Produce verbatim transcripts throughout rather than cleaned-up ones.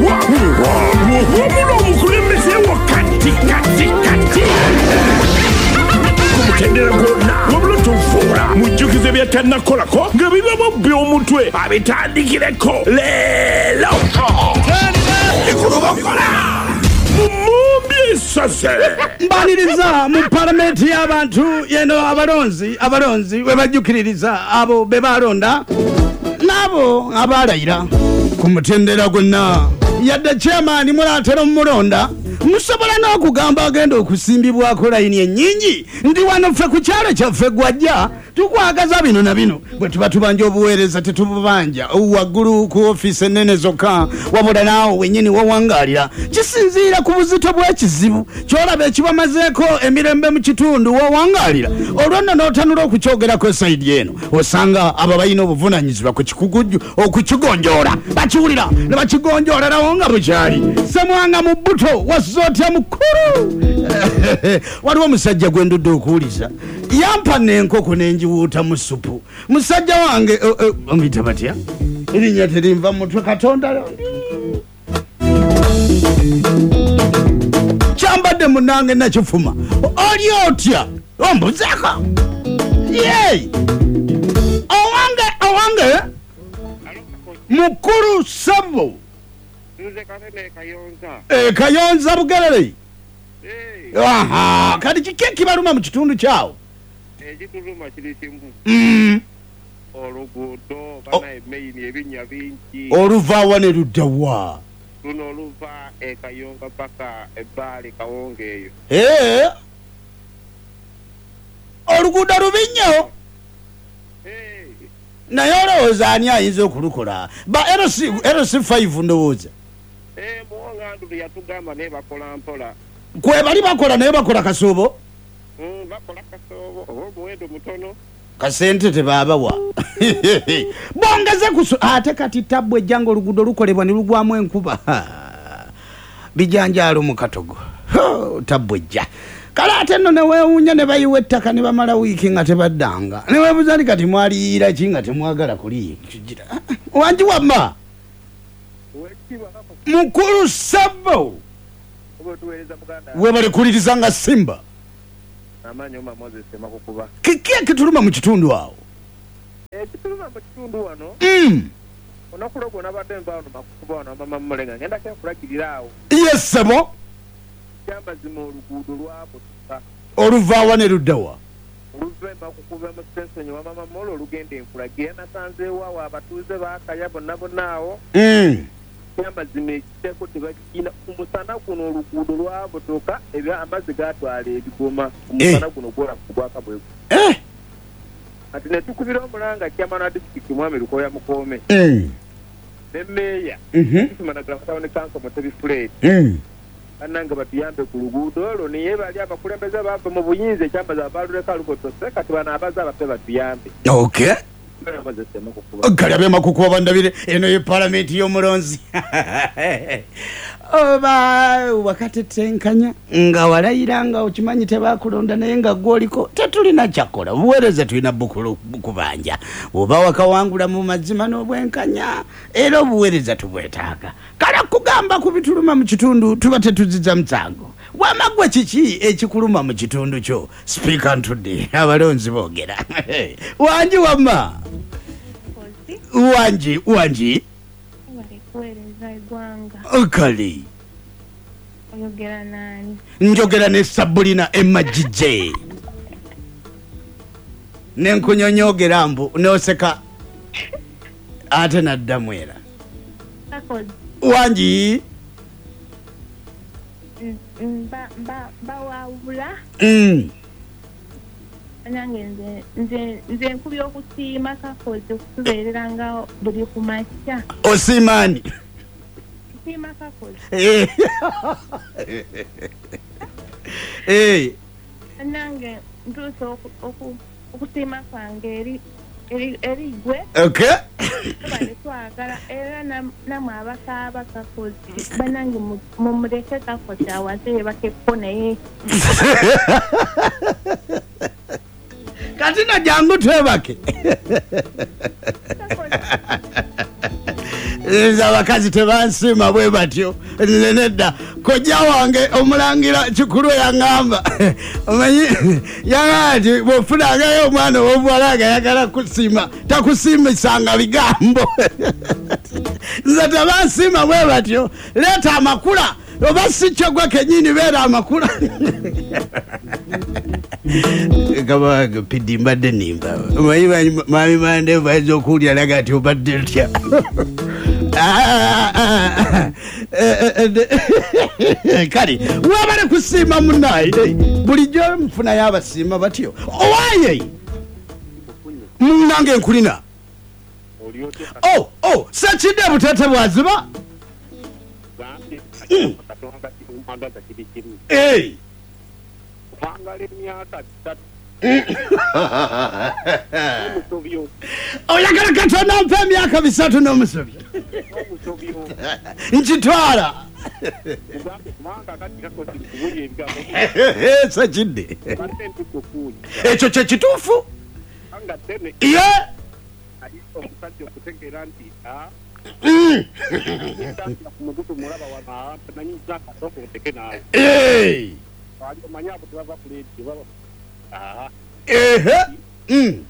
Wabula omukulembeze wo kati kati kati ku mutendera gwonna, wabula tufuula mujjukize byatannakolako nga bibamubbi omutwe abitandikireko leero ekulubakola mumumbi esaze. Mbaliriza mu palamenti y'abantu yeno, abalonzi abalonzi we bajjukiririza abo be balonda n'abo abalayira ku mutendera gwonna. Yadde chairman mulatera omulonda, musobola n'okugamba agenda okusimbibwako layini ennyingi ndi wano ffe ku kyalo kyaffe gwajja tukwagaza bino na bino. Bwe tuba tubanja obuweereza tetububanja waggulu ku ofiisi ennene zokka, wabula naawe wennyini wawangaalira. Kisinziira ku buzito bw'ekizibu ky'olaba ekibamazeeko emirembe mu kitundu wawangaalira, olwo nno n'otanula okukyogerako sayidi eno, osanga abo balina obuvunaanyizibwa ku kikugujju okukigonjoola bakiwulira ne bakigonjoolerawo nga bukyali. Semwanga mu bbuto wasuze otya mukulu? Waliwo omusajja gwe ndudde okuwuliza, yampa n'enkoko n'enjiwuuta mu ssupu. Musajja wange omuyita batya? Erinnya terinva mu mutwe, Katonda kyambadde munnange nakifuma. Oli otya? Ombuzeeko ye owange owange mukulu ssebo. Nze Katende Kayonza. E, Kayonza Bugerere. Eh. Aha, kati kiki ekibaluma mu kitundu kyawo? Ekituluma kiri kimu. Mm. Oluguudo bana emeyini ebinnya bingi. Oluva wa ne ludda wa? Luno oluva e Kayonza paka ebbaali Kawonga eyo. Eh. Oluguudo lubi nnyo. Eh. Naye olowooza ani ayinza okulukola? Ba L C, L C five ndowooza. Eh, Muwonga Andrew yatugamba naye bakola mpola. Kwe bali bakola naye bakola kasoobo? Mm, bakola kasoobo oba omuwendo mutono. Kasente tebaabawa. Bongeze kuso ate kati tabbu ejjanga oluguudo lukolebwa ne lugwamu enkuba. Bijanjaalo mu katogo. Tabbu ejja. Kale ate nno ne weewuunya ne bayiwa ettaka ne bamala wiiki nga tebaddanga. Ne weebuuza nti kati mwaliyiira ki nga temwagala kuliyigira. Wangi wamma? Mukulu ssebo. Webale kuliriza nga Simba. Amaanyi oma Moses Makukuba. Kiki ekituluma mu kitundu awo? Ekituluma mu kitundu wano. Mm. Olunaku lwo nabadde nva wano Makukuba wano mama Mulenga ngenda kyenkulagirira awo. Yes ssebo. Kyamazima oluguudo lwabutuka. Oluva wa ne ludda wa? Oluva e Makukuba mu sitenseni wa mama Molo olugenda enkulagira, nasanzeewo awo abatuuze baakaya bonna bonna awo. Mm. Kyamazima ekiteeko tebakirina. Ku musana guno oluguudo lwabutuka, ebya amazzi gatwala ebigoma. Ku musana guno gwola gwaka bwe. Eh. Kati ne tukubira omulanga chairman wa disitulikiti Mwami Lukoya Mukoome. Mm. Ne mmeeya. Mhm. Managala Town Council Mutebi Fred. Mm. Bannange batuyambe ku luguudo olwo, naye bali abakulembeze bava mu buyinza ekyambaza abaluleka lubotose, kati bano abaze abapya batuyambe. Okay. Makukuba. Kale ab'e Makukuba bandabire, eno ye palamenti y'omulonzi. Oba wakatetenkanya nga walayira nga okimanyi tebakulonda naye nga gw'oliko tetulina kyakola, obuweereza tulina bukubanja. Oba wakawangula mu mazima n'obwenkanya, era obuweereza tubwetaaga. Kale kugamba ku bituluma mu kitundu tuba tetuziza musango. Wamagwe kiki ekikuluma mu kitundu kyo? Sipiika ntudde, abalonzi boogera. Wangi wamma? Wangi, wangi. Kuweereza eggwanga. Kale. Oyogera nani? Njogera ne Sabulina Emma G J. Ne nkunyonyogera mbu n'oseka ate naddamu era. Wangi. Mba mba mbawawula. Mm. Nange nze nze nze nkubye okusiima Kakozi okutubeerera nga buli ku makya. Osiima ani? Nsiima Kakozi. Eh. Eh. Nange ntuuse okusiima kwange eri eri eri gwe. Okay. Tubadde twagala era namwe abakaaba Kakozi bannange mumuleke Kakozi awase yebakeko naye. Kati na jangu twebake. Nze abakazi tebansiima bwe batyo. Nze nedda. Kojja wange omulangira Kikulu yaŋŋamba, omanyi yaŋŋamba nti bw'ofunangayo omwana ow'obuwala nga ayagala kusiima, takusiimisanga bigambo. Nze tebansiima bwe batyo. Leeta amakula, oba si kyo gwe kennyini beera amakula. Kabange Pidi mbadde nnimba. Omanyi mwami Mandevu ayinza okuwulira laga nti obadde otya. Kale webale kusiima munnaye, bulijjo nfunayo abasiima batyo. Owaaye munnange nkulina. Oh, oh, Sekidde Butete bwaziba. Hey. Oyagala Katonda mpe emyaka bisatu n'omusobyo. Nkitwala. Sekidde. Ekyo kye kituufu. Ye. Hey. Eh. Mm.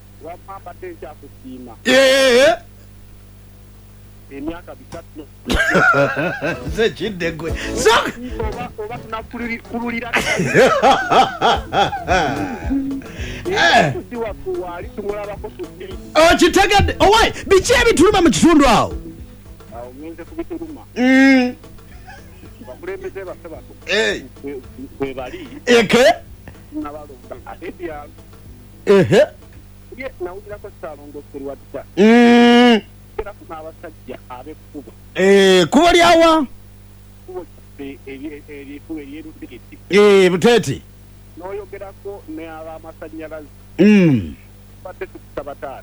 Eh. Sekidde gwe. So okitegedde. Owaye biki ebituluma mu kitundu awo? Mm. Eke? Ehe. Mm. Eh, kubo lyawa? Eh, Butete. N'oyogerako n'abamasannyalaze. Mm. Badde tukusaba taata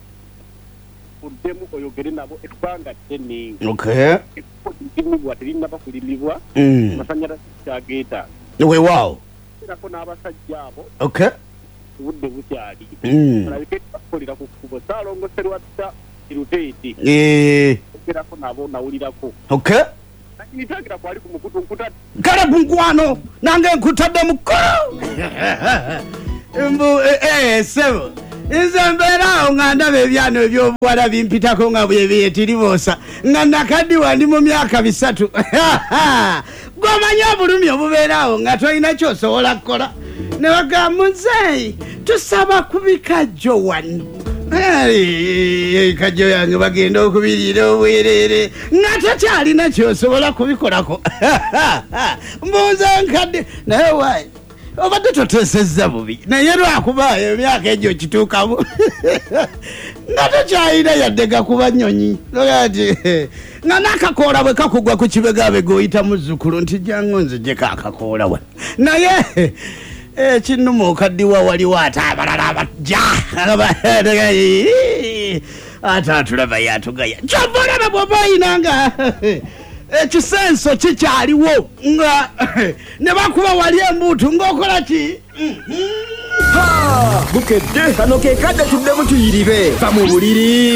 oddemu oyogere nabo ebbanga ddene. Okay. Ekkubo lirimibwa terinnaba kulimibwa. Mm. Amasannyalaze kyageetaaga. Weewaawo. Ogerako n'abasajja abo. Okay. Obudde bukyali. Mm. Balabike bakolera ku kkubo. Ssaalongo Sserwadda Luteeti. Eh. Ogerako nabo nawulirako. Okay. Nitagira kwali ku mukutu nkutadde. Kale nkwano nange nkutadde mukulu. Mbu eh sebo. Nze mbeera awo nga ndaba ebyano eby'obuwala bimpitako nga bwe byetiribosa nga nakaddiwa ndi mu myaka bisatu. Gw'omanyi obulumi obubeera awo nga tolina ky'osobola kukola. Ne bagamba nze tusaba ku bikajjo wano. Ebikajjo yange bagenda okubiriira obwereere nga tokyalina ky'osobola kubikolako. Mbuuza nkadde naye waayi obadde toteesezza bubi naye lwakuba emyaka egyo kituukamu nga tokyalina yadde gakuba nnyonyi. Nti nga n'akakoola bwe kakugwa ku kibegabega oyita muzzukulu nti jangu nzijjeko akakoola wano. Naye ekinnuma okaddiwa waliwo ate abalala abajja ate atulaba yatugaya. Kyova olaba bw'oba oyina nga ekisenso kikyaliwo nga ne bakuba wali embuutu ng'okola ki? Bukedde kano ke kadde tuddemu tuyiribe. Va mu buliri.